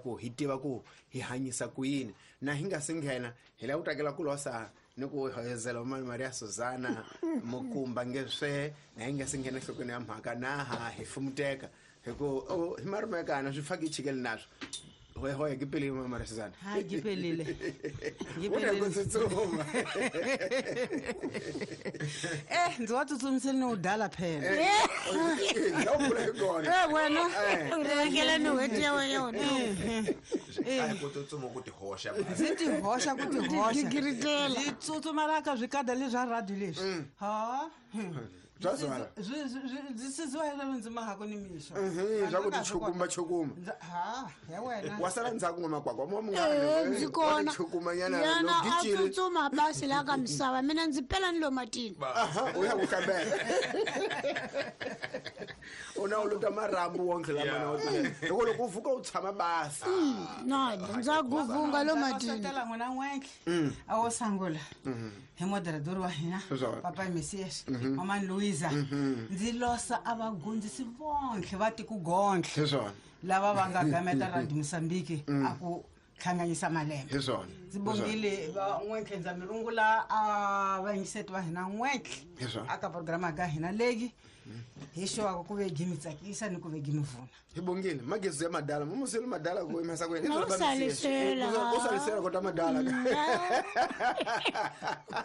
ku hi tiva ku hi hanyisa ku yini. Na hi nga si nghena hi lava ku takela ku losa ni ku hoyozela mani Maria Susana Mukumba ngeswe, na hi nga si nghena enhlokweni ya mhaka na ha hi fumuteka hi ku hi marumekana swi faki chikele naswo. Hoye hoye ke pele mama Maria Susana. Ha ke pelile. Ke U na ku tsutsuma. Ndzi wa tsutsumisele ni u dala phela. La u pfula hi kona. Wena. U rhangela ni n'hweti ya wena. A hi ku tsutsuma ku tihoxa. Ndzi tihoxa ku tihoxa. Gigiritela. Ndzi tsutsumela ka swikada leswi swa radio leswi. Ha. Bya zwala. Ndzi siziwa hi leswi ndzi mahako ni mixo. Swa ku tichukuma chukuma. Ha, ya wena. Wa sala ndzhaku n'wamakwakwa mo munghana. Ndzi kona. Chukuma nyana Yena lo a gicile. tsutsuma basi la ka misava, mina ndzi pela ni lo matini. Aha, u ya ku hlambela. U na u luta marhambu wonke lama na u tile. Loko loko u vuka u tshama basi. No, ndza guvunga lo matini. Satela n'wina n'wentle. A wo sangula. Hi moderador wa hina, Swona. Papa Messias, Mama Luisa. Ndzi losa a va gondzisi vonke va tiku gontle. Hi swona. Lava va nga gameta Radio Mozambique a ku hlanganyisa malembe. Hi swona. Ndzi bongile va n'wentle, ndza mi rungula a vayingiseti va hina n'wentle. Hi swona. Aka programa ka hina leyi hi xewaka ku ve gi mi tsakisa ni ku ve gi mi vuna. Hi bongile magezi ya madala mumuseli madala ku yimesa ku yini. Na u salisela. U salisela kota madala.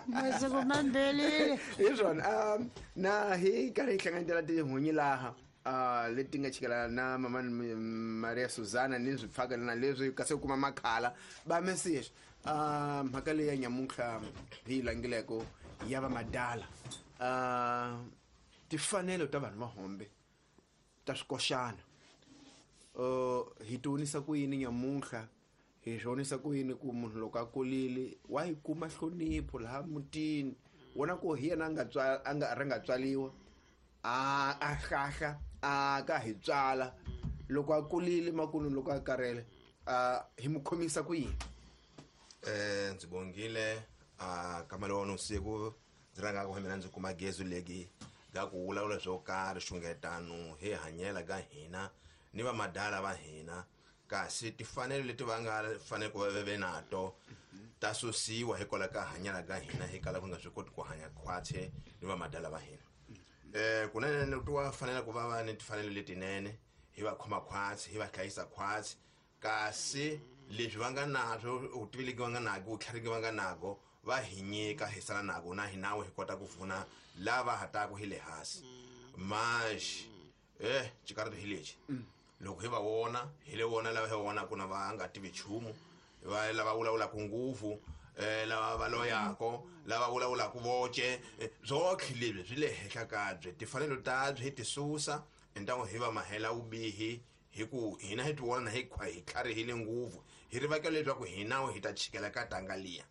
Masiku mambelile. Hi swona. Na hi karhi hi hlanganetela tihunyi laha leti nga chikela na mama Maria Susana ni swipfaka na leswi kasi u kuma makhala ba message. Mhaka leyi ya nyamuntlha hi yi langileko ya va madala. Tifanelo ta vanhu va hombe ta swikoxana. Hi tionisa ku yini nyamuntlha, hi swonisa ku yini ku munhu loko a kulile wa yi kuma nhlonipho laha mutini wona ku hi yena a nga tswa-, a nga ri nga tswaliwa, a hlahla, a ka hi tswala. Loko a kulile makunu loko a karhele, hi mu khomisa ku yini? Ndzi bongile, ka mali wa wena usiku, ndzi rhanga ku mina ndzi kuma gezi legi ga ku vulavula swo karhi xungetano hi hanyela ka hina ni va madala va hina, kasi tifanelo leti va nga fanele ku va ve ve nato ta susiwa hikwalaho ka hanyela ka hina, hi kala ku nga swi koti ku hanya khwatsi ni va madala va hina. Kunene ni twa fanela ku va va ni tifanelo letinene, hi va khoma khwatsi, hi va hlayisa khwatsi, kasi leswi va nga naswo, vutivi legi va nga nago, vutlhari va nga nago, va hi nyika hi sala nago, na hina hi kota ku pfuna lava ha taku hi le hansi. Maxi, xikarhi hi lexi. Loko hi va vona, hi le vona lava hi va vonaka na va nga tivi nchumu, va lava vulavulaka ngopfu, lava va loyako, lava vulavulaka voce, swotlhe leswi swi le henhla ka byi. Tifanelo ta byi hi ti susa, entangu hi va mahela vubihi, hi ku hina hi ti vona hi hi tlharihile ngopfu, hi rivakela leswaku hina hi ta chikela ka tanga liya.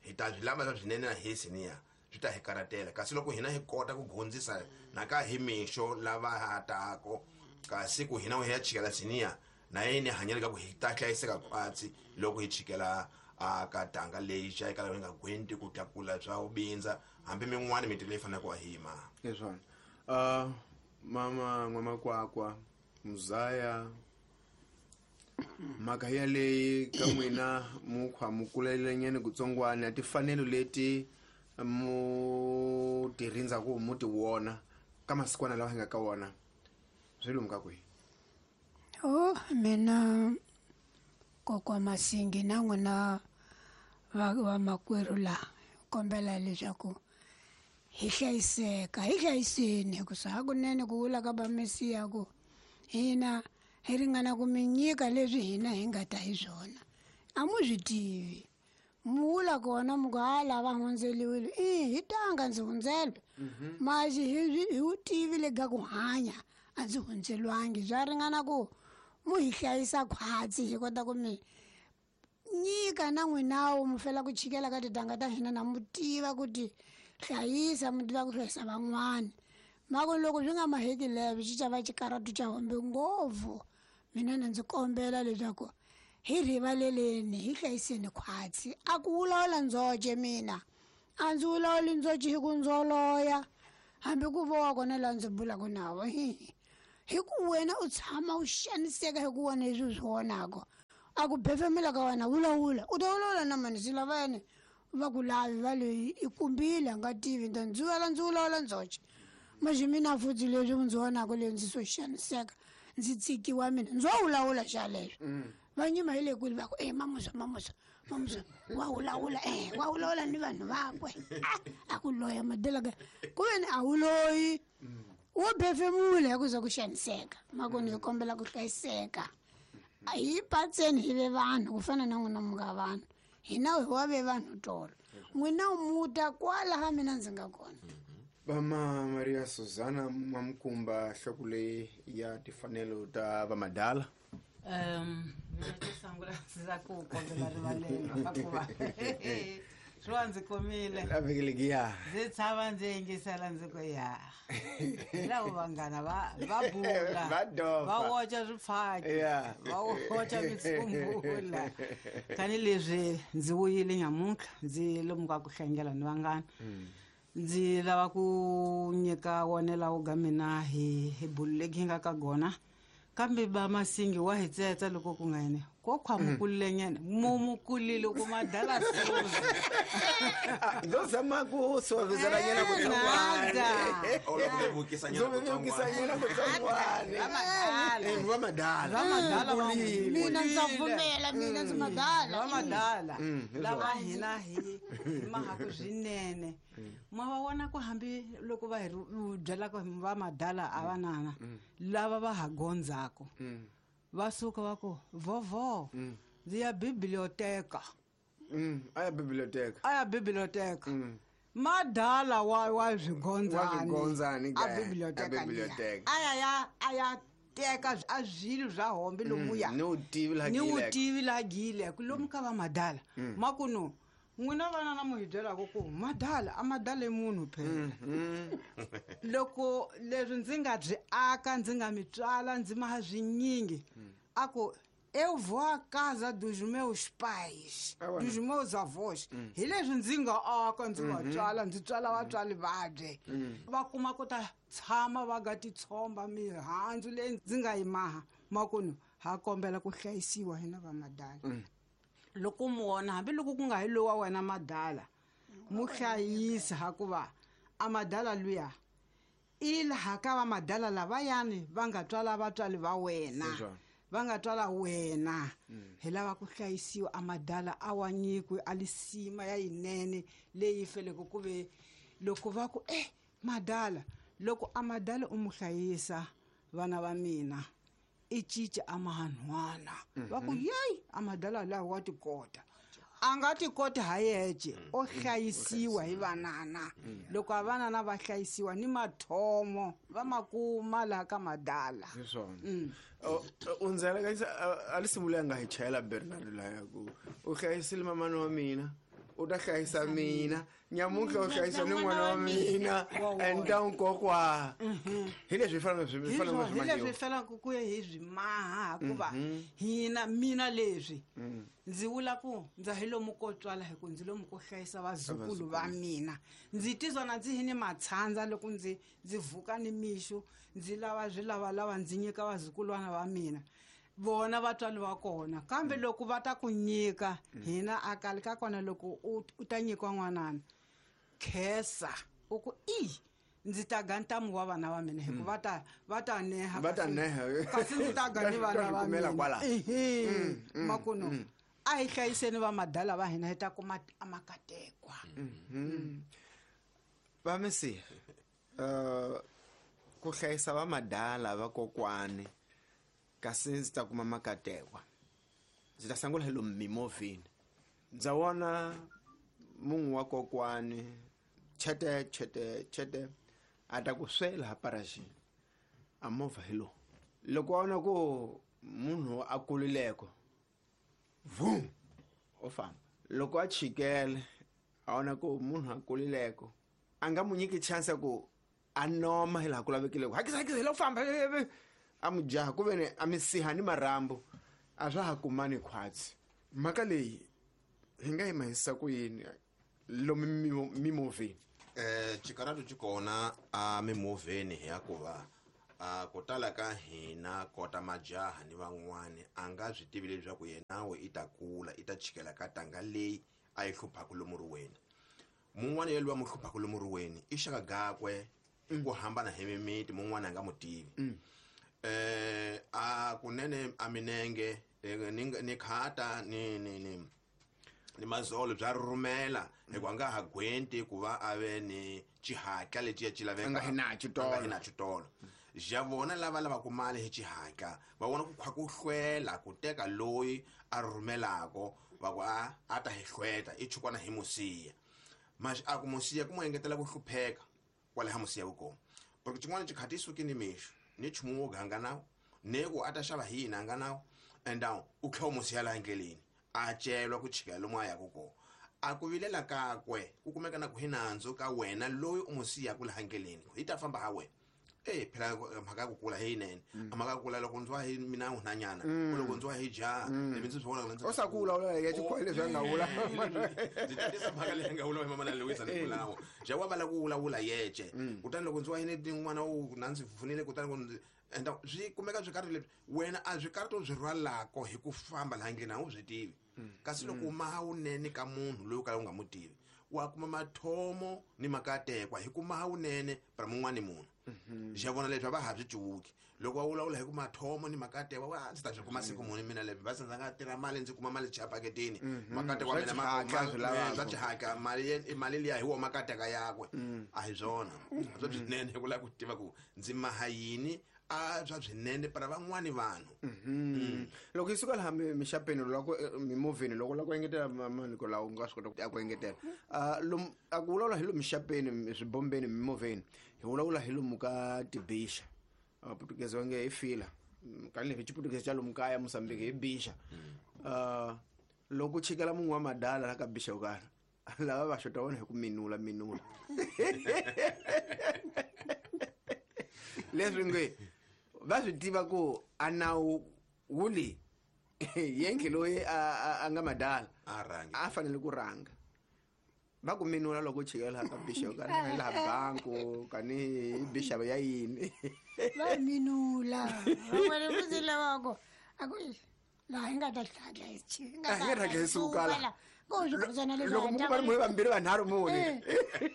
Hi ta swi lava swa swinene na hi siniya, swi ta hi karhatela. Kasi loko hina hi kota ku gondzisa na ka hi mixo lava ha tako, kasi ku hina hi ya chikela siniya, na yini hanyela ka ku hi ta hlayiseka khwatsi loko hi chikela a ka tanga leyi xa eka lava nga gwenti ku tlakula swa vubindza, hambi min'wani mintirho leyi faneleke ku va hi yima. Hi swona. Mama N'wamakwakwa Muzaya, mhaka yaleyi ka n'wina mukhwa mu kulelenyana kutsongwana, tifanelo leti mu ti rindzaku mu ti vona ka masikwana lawa hi nga ka wona, swi lumka kwihi? Oh, mina kokwa Masingi na n'wina va makwerhu laha, kombela leswaku hi hlayiseka, hi hlayiseni, hikusa hakunene ku vula ka va Mesiya ku hina hi ringana ku mi nyika leswi hina hi nga ta hi swona. A mu swi tivi. Mu vula kona mu ku, ha, lava hundzeliwile. I, hi tanga ndzi hundzelwe. Maxi hi wu tivi le ka ku hanya, a ndzi hundzelwangi. Swa ringana ku mu hi hlayisa khwatsi, hi kota ku mi nyika na n'winawo, mu fela ku chikela ka titanga ta hina, na mu tiva ku ti hlayisa, mu tiva ku hlayisa van'wana. Mako loko swi nga maheki leswi, xi ta va xikarhatu xa hombe ngopfu. Mina na ndzi kombela leswaku hi rivaleleni, hi hlayiseni khwatsi. A ku vulavula ndzoce mina, a ndzi vulavuli ndzoce hi ku ndzoloya, hambi ku vowa kona laha ndzi bulaka na vo. Hi ku wena u tshama u xaniseka hi ku vona leswi u swi vonaka. A ku befemela ka wena vulavula u ta vulavula na mani swi lava yena va ku lavi va loyi i kumbile a nga tivi ni ta ndzi vela ndzi vulavula ndzoxe maxi mina futhi leswi ndzi vonaka leyi ndzi swo xaniseka ndzi tsikiwa mina ndzo vulavula xa leswo va nyima hi le kwini va ku e mamusa mamusa mamusa wa vulavula e wa vulavula ni vanhu vakwe a ku loya madelaka ku veni a wu loyi wo befemula hi ku za ku xaniseka makoni hi kombela ku hlayiseka hi patseni hi ve vanhu ku fana na n'wina mi nga vanhu hina hi wa ve vanhu tolo n'wina muta kwalaha mina ndzi nga kona. Vama Maria Susana Mamkumba nhloko leyi ya timfanelo ta vamadala. Mina xo sungula ndzi la ku kombela rivalelo hikuva swi va ndzi komile. A vhiki ya. Ndzi tshama ndzi yingisela ndzi ku ya. Hi lavo vanghana va va bula. Va dofa. Va woca swifaki. Ya. Va woca mitsumbula. Tanihileswi ndzi vuyile nyamuntlha ndzi lomu ka ku hlangela ni vanghana. Ndzi lava ku nyika wonela wo ga mina hi hi bulu legi hi nga ka gona kambe ba masingi wa hi tsetsa loko ku nga yene ko khwamukulile nyana mumukulile ku madala suzi Ndo zama ku suavizela nyana ku Nada. Ola ku vevukisa nyana Ndo vevukisa nyana ku tsongwane. Va madala. Eh, va madala. Va madala va Kulile. Mina ndza pfumela mina ndzi madala. Va madala. Hi Lava swona. hina hi hi mahaku swinene. Ma va vona ku hambi loko va hi byelaka va madala a va nana lava va ha gondzako va suka va ku vovo ndzi ya biblioteka. A ya biblioteka. A ya biblioteka. Madala wa wa swigondzani. Wa swigondzani A ke, biblioteka a liya. biblioteka. A ya ya a ya teka a swilo swa hombe lomuya. Ni wu tivi laha Ni wu giyileke. tivi laha giyileke lomu ka va madala. Makuno n'wina vana na mu hi byelaka ku madala a madala i munhu phela. Loko leswi ndzi nga byi aka ndzi nga mi tswala ndzi maha swinyingi a ku eu vou à casa dos meus pais, Awa. dos meus avós. Hi leswi ndzi nga aka ndzi va tswala ndzi tswala vatswari vabye. Va kuma ku ta tshama va nga titshomba mihandzu leyi ndzi nga yi maha makunu ha kombela ku hlayisiwa hina va madala. Loko mu vona hambiloko ku nga hi lowa wena madala mu hlayisa hikuva a madala luya i laha ka va madala lavayani va nga tswala vatswari va wena. Hi swona. Va nga tswala wena. Hi lava ku hlayisiwa a madala a wa nyikwe a lisima ya yinene leyi feleke ku ve loko va ku madala loko a madala u mu hlayisa vana va mina i cinca a mahanhwana. Va ku yeyi a madala lawa wa tikota. A nga tikoti ha yexe o hlayisiwa hi vanana. Loko a vanana va hlayisiwa ni mathomo va ma kuma laha ka madala. Hi swona. U ndzi alakanyisa a li simula nga hi chayela Bernard laya ku u hlayisile mamani wa mina u ta hlayisa mina nyamuntlha u hlayisa ni n'wana wa mina and ta nkokwa. Hi leswi hi faneleke swi Hi faneleke swona, swi hi leswi mahiwa. faneleke ku ya hi swi maha hikuva hina mina leswi ndzi vula ku ndza hi lomu ko tswala hi ku ndzi lomu ko hlayisa vazukulu va mina. Ndzi tizwa na ndzi hi ni matshandza loko ndzi ndzi vuka ni mixo ndzi lava swilavalava ndzi nyika vazukulwana va mina. Vona vatswari va kona kambe loko va ta ku nyika hina a kali ka kona loko u ta nyikiwa n'wanana khensa u ku i ndzi ta ga ntamu wa vana va mina hikuva va ta neha Va ta neha. kasi ndzi ta ga ni Ta vana swi va kumela mina. kwala. Ehe. Makuno a hi hlayiseni va madala va hina hi ta kuma a makatekwa. Va misi ku hlayisa va madala va kokwani kasi ndzi ta kuma makatekwa. Ndzi ta sungula hi lomu mimovheni. Ndza vona munhu wa kokwani chete chete chete a ta ku swela ha parajini a movha hi lowu. Loko a vona ku munhu a kulileko vum o famba. Loko a chikele a vona ku munhu a kulileko a nga mu nyiki chance ya ku a noma hi laha ku lavekileko. Hakisa hakisa hi la ku famba, a mu jaha ku ve ni a mi siha ni marhambu a swa ha kumani khwatsi. Mhaka leyi hi nga yi mahisa ku yini lomu mimovheni? Xikarhato xi kona a mimovheni hi ya ku va A ku tala ka hina kota majaha ni van'wani a nga swi tivi leswaku yena we i ta kula i ta chikela ka tanga leyi a yi hluphaka lomu riweni. Mun'wana yelwa va mu hluphaka lomu riweni i xaka gakwe hi ku hambana hi mimiti, mun'wana a nga mu tivi. A kunene a minenge ni khata ni mazolo bya rhumela hikuva a nga ha gwenti ku va a ve ni xihatla lexi ya xi laveka. A nga hi na xitolo. A nga hi na xitolo. Ja vona lava lavaka mali hi xihatla va vona ku khwa ku hlwela ku teka loyi a rhumelako va ku a ta hi hlweta i chukwana hi musiya. Mas a ku musiya ku mu engetela ku hlupheka kwale ha musiya ku kona. Porque xin'wana xikhati i suke ni mixo ni nchumu wo ganga nawu ne ku a ta xava hi yini a nga nawu and down u tlhela u musiya laha endleleni a celwa ku chika lomu a yaka kona. A ku vilela kakwe ku kumeka na ku hi nandzu ka wena loyi u n'wi siyaka laha endleleni hi ta famba ha wena. Phela mhaka ya ku kula hi yinene. Mhaka ya ku kula loko ndziwa hi mina nhwanyana, loko ndziwa hi jaha, ivi ndzi swi vona ku ndzi O sa kula, u ya xikolo leswi a nga vula. Ndzi tatisa mhaka leyi nga vula hi mama na Louisa ni vulawo. Ja wa vala ku vulavula yece. Kutani loko ndziwa hi ni n'wana wu na ndzi pfunile kutani ku ndzi enda swi kumeka swi karhi leswi wena a swi karhi to swi rhwalako hi ku famba laha ndleleni a wu swi tivi. Kasi loko maha wunene ka munhu loyi u kalaka u nga mu tivi, wa kuma mathomo ni makatekwa hi ku maha wunene para mun'wani munhu. Ja vona leswi a va ha swi cuvuki. Loko va vulavula hi ku mathomo ni makatekwa, wa ndzi ta swi kuma siku muni mina leswi, va sandza nga tirha mali ndzi kuma mali chapaketini. Makatekwa Swa mina xihatla swi lavaka. swa xihatla, mali ye, mali liya hi wo makateka yakwe. A hi swona. Swa swinene ku lava ku tiva ku ndzi maha yini, a swa swinene para van'wani vanhu. Loko yi suka laha mixapeni, loko mimovheni, loko la ku engetela maniko lawa u nga swi kota ku engetela. Lomu, a ku vulavula hi lomu mixapeni, swibombeni, mimovheni, hi vulavula hi lomu ka tibixa. Portuguese va nge i fila. Kani hi Xiputukezi xa lomu kaya Mozambique hi bixa. Loko u chikela mun'we wa madala la ka bixa yo karhi, lava va xota vona hi ku minula, minula. Leswi nge va swi tiva ku a nawu wu le yendli loyi a nga madala A rhangi. a fanele ku rhanga. Va ku minula loko u chikela laha ka bixa yo karhi, laha banku, kani hi bixa ya yini. Va minula. Van'wana va ndzi lava ku, a ku, laha hi nga ta tlhadla hi chi, hi nga A hi nga ta tlhadla hi suka laha. la. Ko swikhosana leswi Loko ha mi ta kuma va munhu vambirhi vanharhu mune.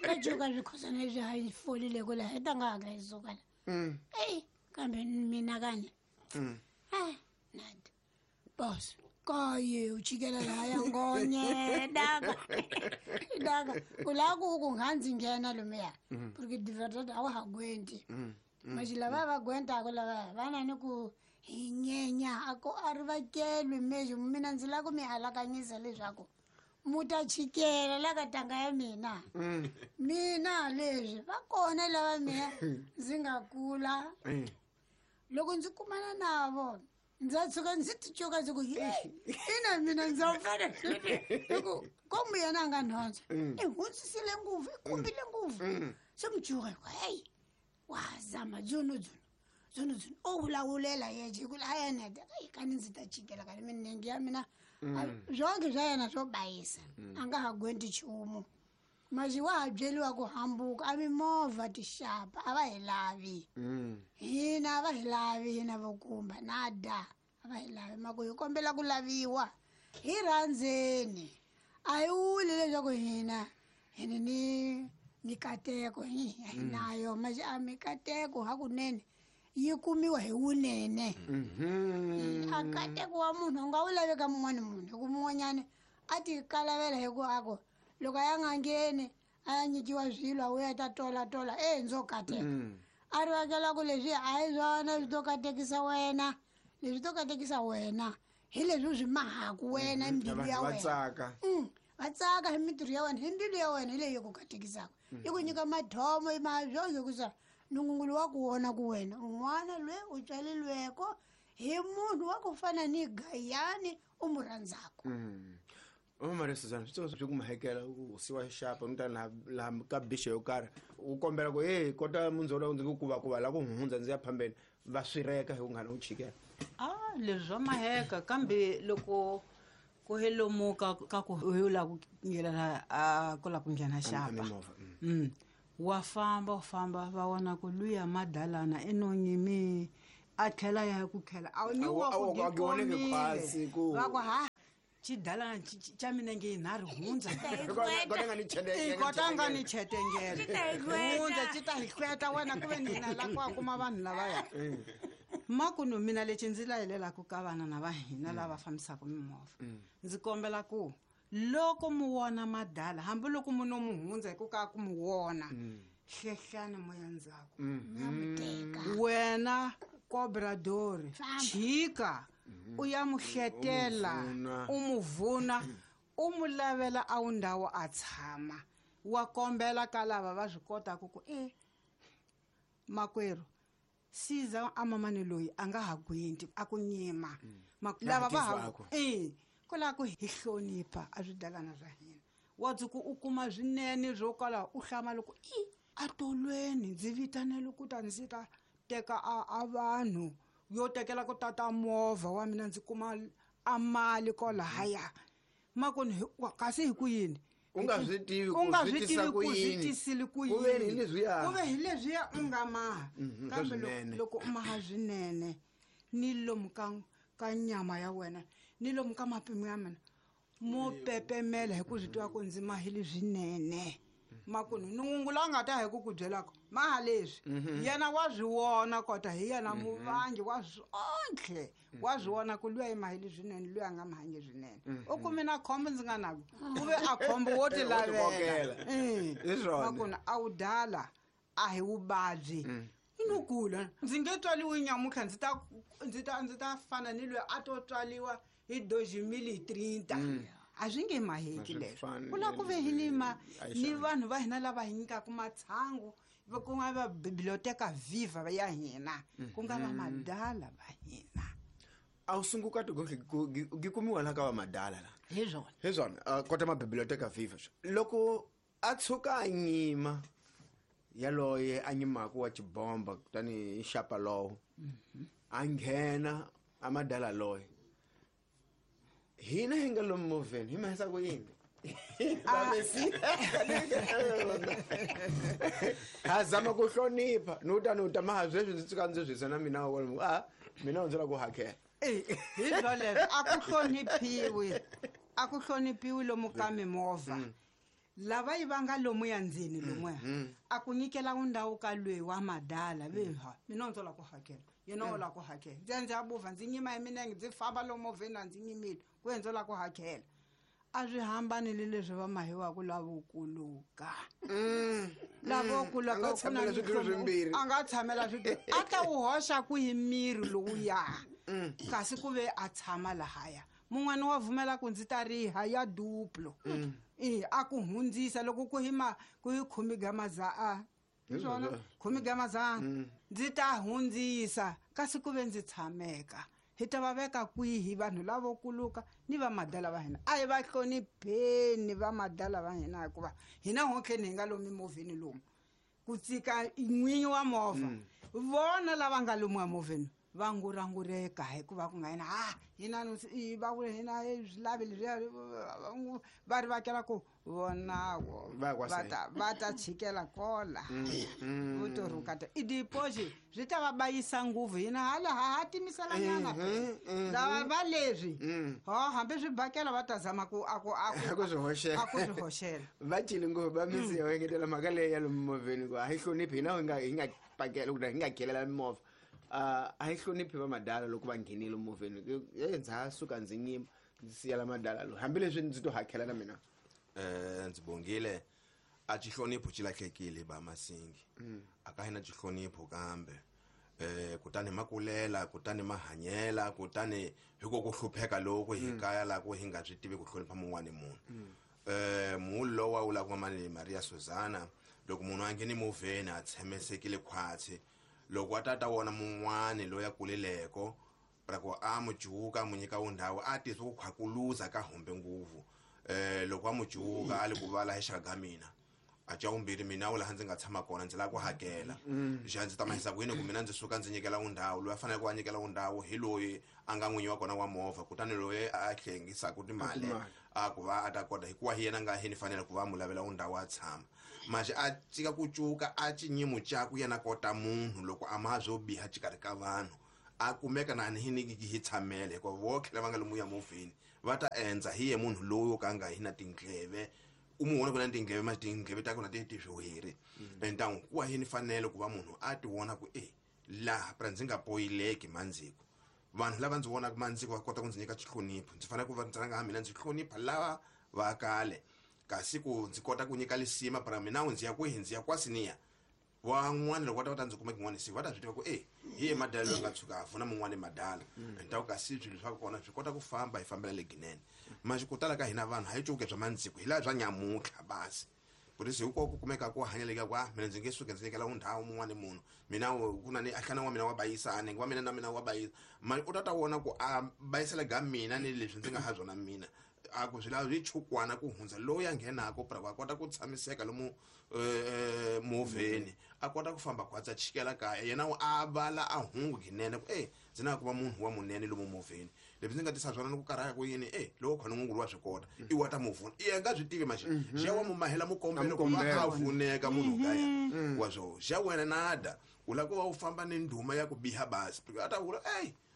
Ka cuka swikhosana leswi ha hi folile ku laha hi ta nga hatla hi suka la. Ey, kambe mina kani. Nada. Boss, kaye u chikela laha ya ngonye, daka. Daka. U lava ku ku nga ndzi nghena lomuya. Porque de verdade a wa ha gwenti. Mas lava va gwentaka lava va na ni ku hi nyenya a ku a ri vakelwi mesmo mina ndzi lava ku mi alakanyisa leswaku mu ta chikela la ka tanga ya mina. Mina leswi va kona lava mina ndzi nga kula. Loko ndzi kumana na vona ndza tshuka ndzi ti cuka ndzi ku, hey, ina mina ndza fana hi ku komu yena a nga nhondza. I hundzisile ngopfu, i kumbile ngopfu. Se mi cuka hi ku, hey, wa zama dzuno dzuno. Dzuno dzuno. O vulavulela yexe hi ku a yena heta, ei, kani ndzi ta chikela kani minenge ya mina. Swonke swa yena swo bayisa. A nga ha gwenti nchumu. Masi wa ha byeriwa ku hambuka, a mimovha tixapa, a va hi lavi. Hina a va hi lavi, hina vo kumba, nada, a va hi lavi. Mako hi kombela ku laviwa, hi rhandzeni. A hi vuli leswaku hina hi ni mikateko, hi nayo, masi a mikateko hakunene yi kumiwa hi wunene. A kateko wa munhu u nga wu lavi ka mun'wani munhu, hi ku mun'wanyani a ti kalavela hi ku a ku loko a ya nga ngheni a ya nyikiwa swilo a vuya ta tola tola, ndzo kateka. A ri vangela ku leswi a hi swona swi to katekisa wena, leswi to katekisa wena hi leswi u swi mahaku wena hi mbilu ya Va wena. tsaka. Va tsaka hi mintirho ya wena, hi mbilu ya wena hi leyi yi ku katekisaka. Yi ku nyika mathomo, yi maha swonke ku sa nungungulu wa ku vona ku wena un'wana loyi u tswaleriweko hi munhu wa ku fana ni Gayani u mu rhandzaka. Mama Maria Suzana, swi tsongo swi ku mahekela u siwa xapa u ta laha ka bixa yo karhi u kombela ku, hey, kota mundzolo ndzi ku kuva kuva la ku hundza ndzi ya phambeni, va swireka hi ku nga u chikela. Leswi swa maheka kambe loko ku helomuka ka ku u lava ku nghena la, a ku lava ku nghena xapa. Mimovha. Wa famba u famba va vona ku luya madalana i no nyimi a tlhela ya ku khela a ni wa ku gikomile va ku ha xidalana xa minenge yinharhu hundza kota nga ni chetengele hundza xi ta hi hlweta wena ku ve ni hina la ku a kuma vanhu lavaya makunu mina lexi ndzi layelelaka ka vana na va hina lava fambisaka mimovha ndzi kombela ku loko mu wona madala hambiloko mu no mu hundza hi ku ka ku mu wona hlehlani moya ndzhaku wena cobradori chika u ya mu hletela u mu vuna u mu lavela a wu ndhawu a tshama wa kombela ka lava va swi kotaka ku e makwerhu siza a mamani loyi a nga ha gwinti a ku nyima lava va ha e ku lava ku hi hlonipha a swidalana swa hina wa dzuku u kuma swinene swo kala u hlama loko i a tolweni ndzi vitanele ku ta ndzi ta teka a vanhu yo tekela ku tata movha wa mina ndzi kuma a mali kolahaya makoni kasi hi ku yini u nga swi tivi ku swi tisile ku yini ku ve hi leswiya u nga maha kambe loko u maha swinene ni lomu ka nyama ya wena ni lomu ka mapimo ya mina mo pepemela hi ku swi tiva ku ndzi mahile swinene makunu nungu la nga ta hi ku ku byelaka maha leswi yena wa swi vona kota hi yena muvangi wa swontlhe wa swi vona ku luya i mahile swinene luya a nga mahangi swinene u kume na khombo ndzi nga nako ku ve a khombo wo ti lavela makunu a wu dala a hi vuvabyi no kula ndzi nge tswaliwi nyamutlha ndzi ta fana ni loyi a to tswaliwa hi 2030 a swi nge maheki leswo ku lava ku ve hi ni ni vanhu va hina lava hi nyikaka matshangu ku nga va biblioteka viva ya hina ku nga va madala va hina a wu sungukati gi kumiwa la ka va madala la hi swona hi swona kota ma biblioteka viva loko a tshuka a nyima yaloye a nyimaka wa xibomba kutani hi xapa lowo a nghena a madala loye hina hi nga lomu movheni hi mahisa ku yini ha zama ku hlonipha ni uta ni uta maha sweswi ndzi tsuka ndzi swisa na mina a mina ndzi la ku hakela hi swoleswo a ku hloniphiwi lomu ka mimovha lava yi vanga lomuya ndzeni lomuya a ku nyikela ndhawu ka lweyi wa madala veha mina ndzo la ku hakela yena o la ku hakela ndzi ya ndzi ya buvha ndzi nyima hi minenge ndzi famba lomovheni a ndzi nyimile ku ye ndzo la ku hakela a swi hambanile leswi va mahiwaka lavokuluka lavokuluka a nga tshamela switulu a ta wu hoxa kwihi miri lowuya kasi ku ve a tshama lahaya mun'wana wa vumela ku ndzi ta riha ya duplo a ku hundzisa loko ku hi ku hi khumi ga maza swona khumi ga mazana ndzi ta hundzisa kasi ku ve ndzi tshameka hi ta va veka kwihi vanhu lavo kuluka ni va madala va hina a hi va hlonipheni va madala va hina hikuva hina hontlheni hi nga lomu mimovheni lomu ku tsika n'winyi wa movha vona lava nga lomu emovheni va ngurangureka hikuva ku nga hina hina va ku hina swi lavi leswiya va ri vakela ku vonako va ta chikela kola vo to rhukata i dipoxi swi ta va bayisa ngopfu hina hala ha timiselanyana lava va leswi ho hambi swi bakela va ta zama ku a ku swi hoxela va cile ngopfu va misiya va engetela mhaka leyi ya lomu movheni ku a hi hloniphi hina hi nga pakela hi nga khelela mimovha a hi hloniphi va madala loko va nghenile movheni ndza ha suka ndzi nyima ndzi siyela madala loyi hambileswi ndzi to hakela na mina ndzi bongile a xihlonipho xi lahlekile ba masingi a ka hina xihlonipho kambe kutani makulela kutani mahanyela kutani hi ku ku hlupheka loko hi kaya la ku hi nga swi tivi ku hlonipha mun'wani munhu mulo lowa wu la ku mamani Maria Susana loko munhu a ngheni movheni a tshemesekile khwatsi loko a tata wona mun'wani loyi a kuleleko ra ku a mu juka mu nyika wundhawu a tisa ku khwakuluza ka humbe nguvu loko a mu juka a li ku vala hi xaka ga mina A xa vumbirhi mina laha ndzi nga tshama kona ndzi lava ku hakela. Xa ndzi ta mahisa ku yini ku mina ndzi suka ndzi nyikela undhawu loyi a faneleke ku a nyikela undhawu hi loyi a nga n'winyi wa kona wa movha, kutani loyi a hlengisaka timali a ku va a ta kota hikuva hi yena nga hi ni fanele ku va mu lavela undhawu a tshama. Manje a cika ku cuka a cinyimo caku yena kota munhu loko a ma byo biha xikarhi ka vanhu a kumeka na ni hi hi tshamele hikuva vo tlhela va nga lomuya movheni va ta endza hi ye munhu loyi wo ka nga hi na tindleve u mu vona ku na tindleve ma tindleve ta kona ti ti swiweri. Entangu ku wa yini fanele ku va munhu a ti vona ku laha pra ndzi nga poyileki mandziko vanhu lava ndzi vonaka mandziko va kota ku ndzi nyika xihlonipho ndzi fanele ku va ndzi rhanga mina ndzi hlonipha lava va kale kasi ku ndzi kota ku nyika lisima pra mina ndzi ya kwihi ndzi ya kwasiniya van'wana loko va ta va ta ndzi kuma kin'wana siku va ta swi tiva ku hi ye madala loyi a nga tshuka a vuna mun'wana madala. Entangu kasi swilo swa kona swi kota ku famba hi fambela leginene. Manje ku tala ka hina vanhu ha yi cuke bya mandziko hi laha bya nyamutlha basi polisi hinkwaku ku kumeka ku hanyeleka ku mina ndzi nge suki ndzi nyikela undhawu mun'wana munhu mina ku na ni ahlana wa mina wa bayisani wa mina na mina wa bayisa mali u ta ta vona ku a bayisela ga mina ni leswi ndzi nga ha byona mina a ku swi lava swi chukwana ku hundza loyi a nghenaka pra a kota ku tshamiseka lomu movheni a kota ku famba khwatsa chikela kaya yena a vala a hungu ginene ku ndzi na ku va munhu wa munene lomu movheni leswi ndzi nga tisa swona ni ku karhaka ku yini loko khona ngungulu wa swi kota i wa ta muvuna i nga swi tivi manje xa wa mumahela mukombelo ku va a vuneka munhu kaya wa swo xa wena nada u lava ku va u famba ni ndhuma ya ku biha basi a ta vula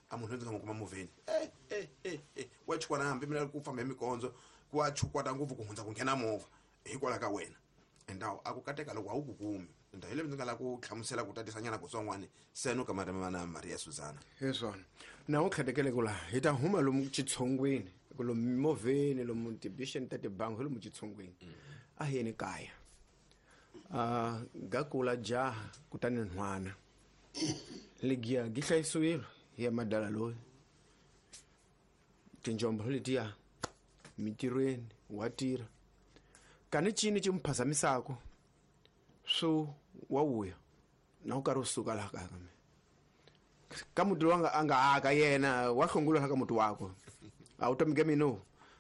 a munhu ndzi nga n'wi kuma movheni wa chukwana hambi mina ku famba hi mikondzo ku wa chukwata ngopfu ku hundza ku nghena movha hikwalaho ka wena endawo a ku kateka loko a wu ku kumi enda hi leswi ndzi nga lava ku hlamusela ku tatisanyana kutsongwani seno ka marimi na Maria Suzana hi swona na u tlhetekele ku laha hi ta huma lomu xitshongweni ku lomu mimovheni lomu tibixeni ta tibangi hi lomu xitshongweni a hi yeni kaya ga kula jaha kutani nhwana legiya gi hlayisiwile hi ya madala loyi tinjombo letiya mitirhweni wa tirha kani cini ci muphazamisako swo wa vuya na u karhi u suka laha kaya ka mina ka muti lowu a nga aka yena wa hlongula laha ka muti wakwe a wu tomike mina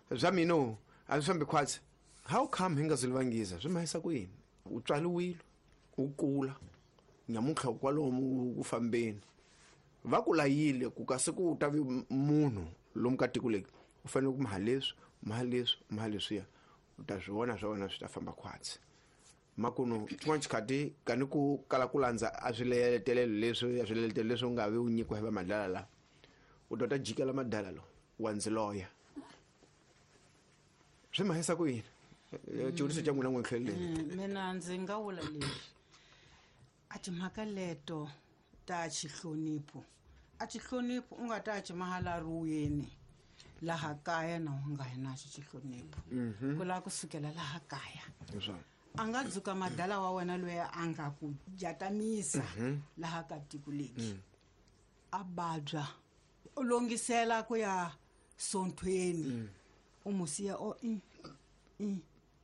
bya mina a swi fambi khwatsi how come hi nga zwi vangiza swi mahisa ku yini u tswaliwile u kula nyamuntlha kwalomu ku fambeni va ku layile ku kasi ku ta vi munhu lomu ka tiko leri u fanele ku maha leswi maha leswi maha leswiya u ta swi vona swa wena swi ta famba khwatsi makuno xin'wana xikhati kani ku kala ku landza a swiletelelo leswi a swiletelelo leswi u nga vi u nyikiwa hi va madala la u ta ta jikela madala lo wa ndzi loya swi mahisa ku yini xivutiso xa n'wina n'we tlheleleni mina ndzi nga vula leswi a timhaka leto ta xihlonipho a xihlonipho u nga ta ci mahala ruweni laha kaya na u nga hi naxo xihlonipho ku lava kusukela laha kaya a nga dzuka madala wa wena loyi a nga ku jatamisa laha ka tiko leki a babya u longisela ku ya sonthweni u mu siya o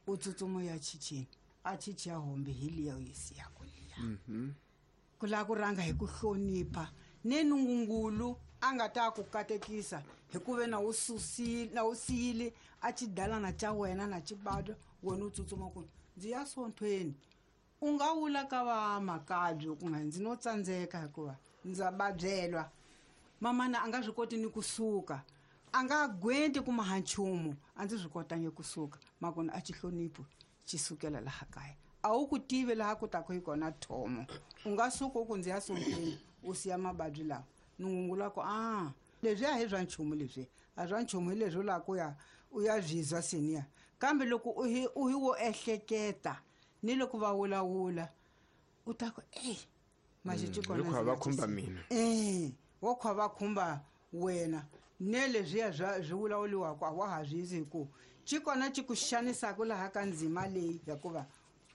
u tsutsuma ya chichini a chichi ya hombe hi liya u yi siyako liya ku lava ku rhanga hi ku hlonipha ni nungungulu a nga ta ku katekisa hikuve na wu susile na wu siyile a xidalana xa wena na xibadwa wena u tsutsuma ku ndzi ya sonthweni u nga wula ka va makabyo ku nga ndzi no tsandzeka hikuva ndza babyelwa mamana a nga swi koti ni kusuka a nga gwenti kuma ha nchumu a ndzi swi kotangi kusuka makona a xihlonipho xi sukela laha kaya a wu ku tivi laha ku taku hi kona thomo u nga suka u ku ndzi ya sontweni u siya mababyi lawa nungungula ku a leswi a hi swa nchumu leswi a swa nchumu hi leswi u lava ku ya u ya byizwa seniya kambe loko u hi u hi wo ehleketa ni loko va vulavula u ta ku ey maxi kona va khumba mina wo kha va khumba wena ne leswiya swi vulavuriwaka a wa ha swi hi ku xi kona xi ku xanisaka laha ka ndzima leyi hikuva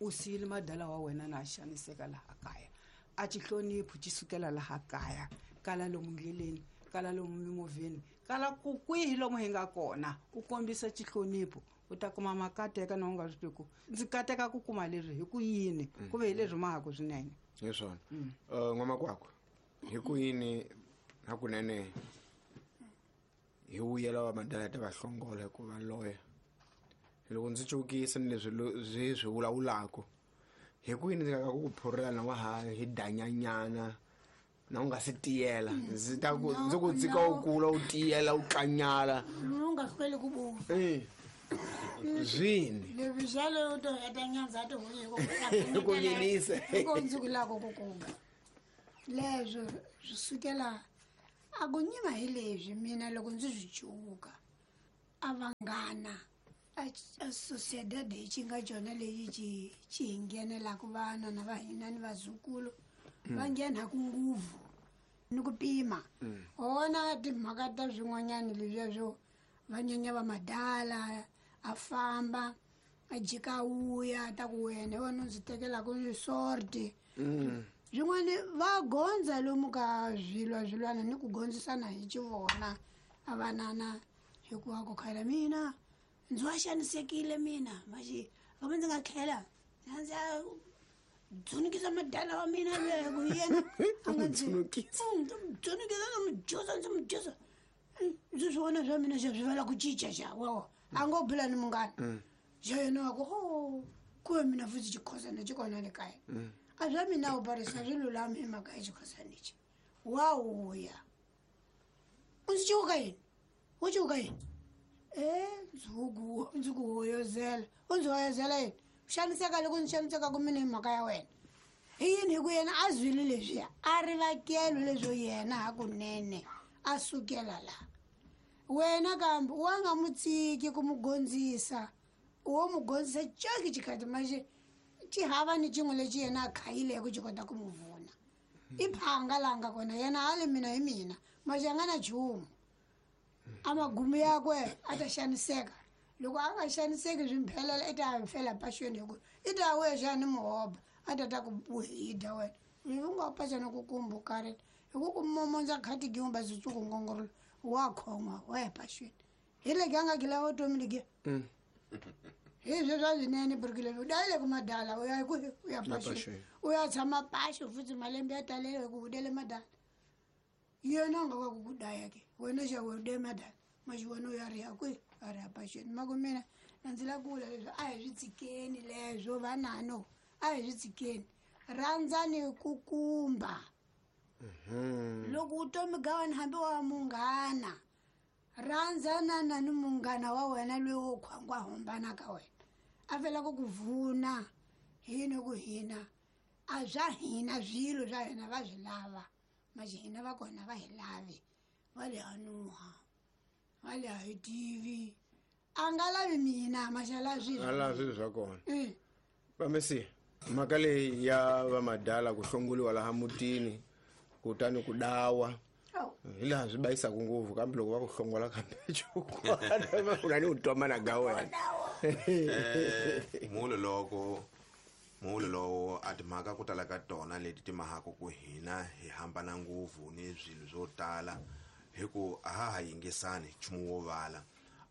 u siyile madala wa wena na xaniseka laha kaya a xi hlonipho xi sukela laha kaya kala lomu ndleleni kala lomu mimovheni kala ku kwihi lomu hi nga kona u kombisa xihlonipho u ta kuma makateka na u nga swi tivi ku ndzi kateka ku kuma leswi hi ku yini ku ve hi leswi mahaku swinene hi swona n'wamakwakwa hi ku yini hakunene hi vuyela wa madala ta va hlongola hikuva loya loko ndzi cukisa ni leswi swi vulavulaka Hi ku yini ndzi nga ku phurela wa ha hi danyanyana na u nga si tiyela ndzi ta ku ndzi ku tshika u kula u tiyela u tlanyala u nga hlweli ku buva zwini leswi xale u to heta nyandza a ti huyi Ku yinisa. ku ndzi ku lava ku kumba leswo swi sukela a ku nyima hi leswi mina loko ndzi swi cuka a vanghana a sociedad hi xi nga cona leyi ci ci hi nghenelaka vana na va hina ni vazukulu va nghenaku nguvu ni ku pima wona timhaka ta swin'wanyana leswiya swo va nyanya va madala a famba a jika a wuya ta ku wena hi wena u ndzi tekelaka sorti swin'wana va gondza lomu ka swilwa swilwana ni ku gondzisana hi xivona a vanana hikuva ku khayela mina ndzi wa xanisekile mina maxi kambe ndzi nga tlhela ndzi ya dzunukisa madala wa mina luya hi ku yena a nga ndzi Dzunukisa. Ndzi n'wi dzunukisa ndzi n'wi jusa ndzi n'wi jusa ndzi swi vona swa mina xa swi vala ku cinca xa wawa a ngo bula ni munghana xa yena wa ku ho kuve mina futhi xikhosana xi kona le kaya a swa mina u barisa swi lulami hi mhaka ya xikhosana lexi wa wuya u ndzi cuka yini u cuka yini e ndzi ku hoyozela u ndzi hoyozela yini u xaniseka loko ndzi xanisekaka mina hi mhaka ya wena hi yini hi ku yena a zwile leswiya a rivakelo leswo yena hakunene a sukela laha wena kambe wa nga mu tsiki ku mu gondzisa wo mu gondzisa coki xikhati maxe xi hava ni xin'we lexi yena a khayileke xi kota ku mu vuna i phanga laha nga kona yena a le mina hi mina maxe a nga na nchumu a magumu yakwe a ta xaniseka loko a nga xaniseki swi mphelela i ta fela paxweni hi ku i ta wuya xa ni muhoba a ta ta ku hi dya wena ivi u nga paxana ku kumbu karela hi ku ku momondza khati giumba switsuku ngongorolo wa khoma wa ya paxweni hi legi a nga gila vutomi legiya hi sweswo a swinene birikile u dayile ku madala u ya kwihi u ya paxweni paxweni. u ya tshama paxo futhi malembe ya talele hi ku u dele madala yena a nga wa ku ku daya ke wena xa we u de madala maxi wena u ya ri ya kwihi a ri ya paxweni ma ku mina na ndzi la ku vula leswi a hi swi tshikeni leswo vanano a hi swi tshikeni rhandzani ku kumba loko vutomi ga wena hambi wa munghana rhandzanana ni munghana wa wena loyi wo khwangwa hambana ka wena a felaka ku vuna hini ku hina a swa hina swilo swa hina va swi lava maxi hina va kona va hi lavi va le hanuha va le ha hi tivi a nga lavi mina maxi a lavi swilo a laha swilo swa kona Mm. vamesiya mhaka leyi ya vamadala ku hlongoliwa laha mutini kutani ku dawa Awu. hi laha swi bayisaka ngopfu kambe loko va ku hlongola kambe cukwana u na ni u twamana ga wena mulo loko mulo lowo a timhaka ku tala ka tona leti ti mahaka ku hina hi hambana ngopfu ni swilo swo tala hi ku a ha ha yingisani nchumu wo vala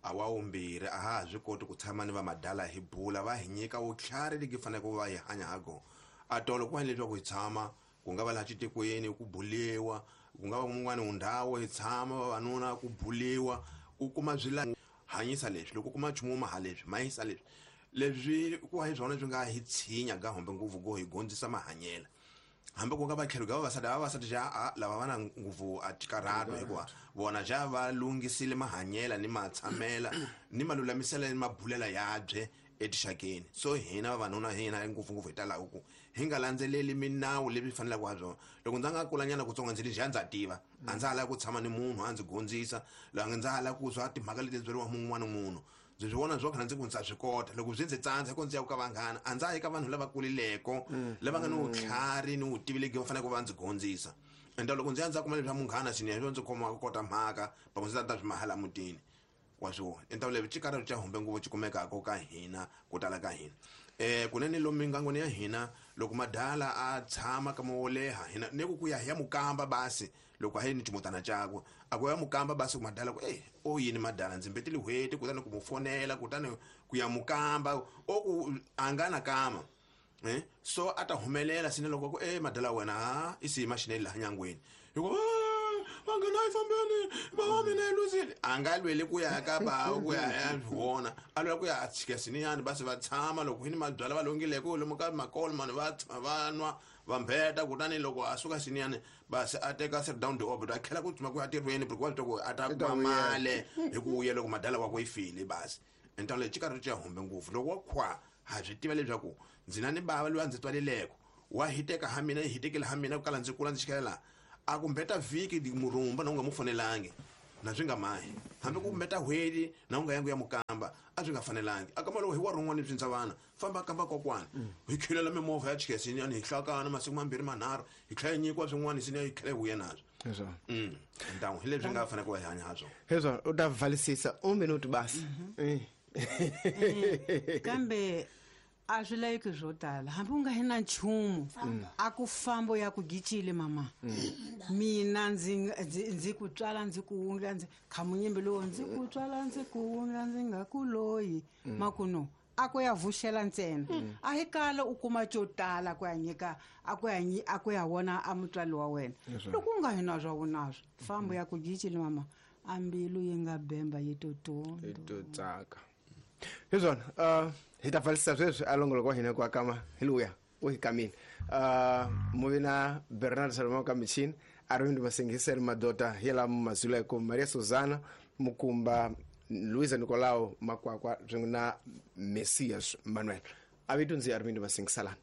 a wa wumbirhi a ha ha swi koti ku tshama ni vamadala hi bula va hi nyika vutlhari legi faneleke va hi hanya ha kona a tolo ku va leswaku hi tshama ku nga va laha xitikweni ku buliwa ku nga va mun'wani ndhawu hi tshama vavanuna ku buliwa u kuma swila hanyisa leswi loko u kuma nchumu wo maha leswi mahisa leswi leswi ku va hi swona swi nga hi tshinya ga hombe ngopfu ku hi gondzisa mahanyela hambi ku nga va tlhelo ka vavasati vavasati xa a lava va na ngopfu a tikarhato hikuva vona xa va lunghisile mahanyela ni matshamela ni malulamisela ni mabulela yabye etixakeni so hina vavanuna hina ngopfungopfu hi talaka ku hi nga landzeleli minawu leyi fanelaka ha byona loko ndza nga kulanyana kutsongo ndzi ri xa ndza tiva a ndza ha lavi ku tshama ni munhu a ndzi gondzisa loko ndza ha lavi ku swa timhaka leti byeriwa mun'wana munhu ndzi swi vona swo khana ndzi ku ndza swi kota loko swi ndzi tsandza ko ndzi ya ka vanghana a ndza ha yi ka vanhu lava kulileko lava nga ni vutlhari ni vutivi legi va faneleke va ndzi gondzisa ende loko ndzi ya ndza kuma leswa munghana swinene swo ndzi khoma kota mhaka pamwe ndzi ta ta swi mahala mutini wa swona enta leswi xikarhelo xa humbe ngopfu xi kumekaka ka hina ku tala ka hina kunene lomu mingangweni ya hina loko madala a tshama kama wo leha hina ne ku ku ya hi ya mukamba basi loko a yi ni ximutana cakwe a ku ya mukamba basi ku madala ku e o yini madala ndzi mbetile hweti kutani ku mu fonela kutani ku ya mukamba o ku a nga na kama so a ta humelela sine loko ku e madala wena ha i siyima xinene laha nyangweni hikuva Vanghana a yi fambeni, bava mina yi luzile. A nga lweli ku ya ka bava ku ya ya vona, a lwela ku ya tshika siniyani va se va tshama loko hi ni mabyala va longileko lomu ka makolmani va tshama va nwa va mbheta. Kutani loko a suka siniyani basi a teka sit down the orbit a tlhela ku tshama ku ya tirhweni because wa swi twa ku a ta kuma mali hi ku vuya loko madala wakwe yi file basi. Ntalo leyi xikarhi xa humbe ngopfu loko wa khwa ha swi tiva leswaku ndzi na ni bava loyi a ndzi tswaleleko wa hiteka ha mina yi hitekile ha mina ku kala ndzi kula ndzi xikela laha a ku mbeta vhiki murumba na u nga mu fanelangi na swi nga mahi hambi ku mbeta hweti na u nga yangu ya mukamba a swi nga fanelangi a kamba loko hi wa rin'wana swi vana famba kamba kokwana hi khilela mimovha ya chikesini yani hi hlakana masiku mambirhi manharhu hi tlhela hi nyikiwa swin'wana sini hi tlhela hi vuya naswo. Ntangu hi leswi nga fanele ku va hi hanya ha swona. Hezwo u ta vhalisisa un minuto basi. Kambe a swi laveki swo tala hambi u nga hi na nchumu a ku fambo ya ku gicile mama mina ndzi ku tswala ndzi ku wundla ndzi khamunyimbi lowo ndzi ku tswala ndzi ku wundla ndzi nga ku loyi makuno a ku ya vuxela ntsena a hi kala u kuma xo tala ku ya nyika a ku ya a ku ya vona a mutswali wa wena loko u nga hi na swa vunaswo fambo ya ku gicile mama a mbilu yi nga bemba yi to hi to tsaka hi swona. Hi ta pfalisa sweswi a longoloko wa hina ku akama hi luya u hi kamile. Muvi na Bernard Salomão ka michini Arvind Masingisel Madota hi la Mazuleko Maria Susana Mukumba Luisa Nicolau Makwakwa swin'we na Messias Manuel. A vito ndzi Arvind Masingisalani.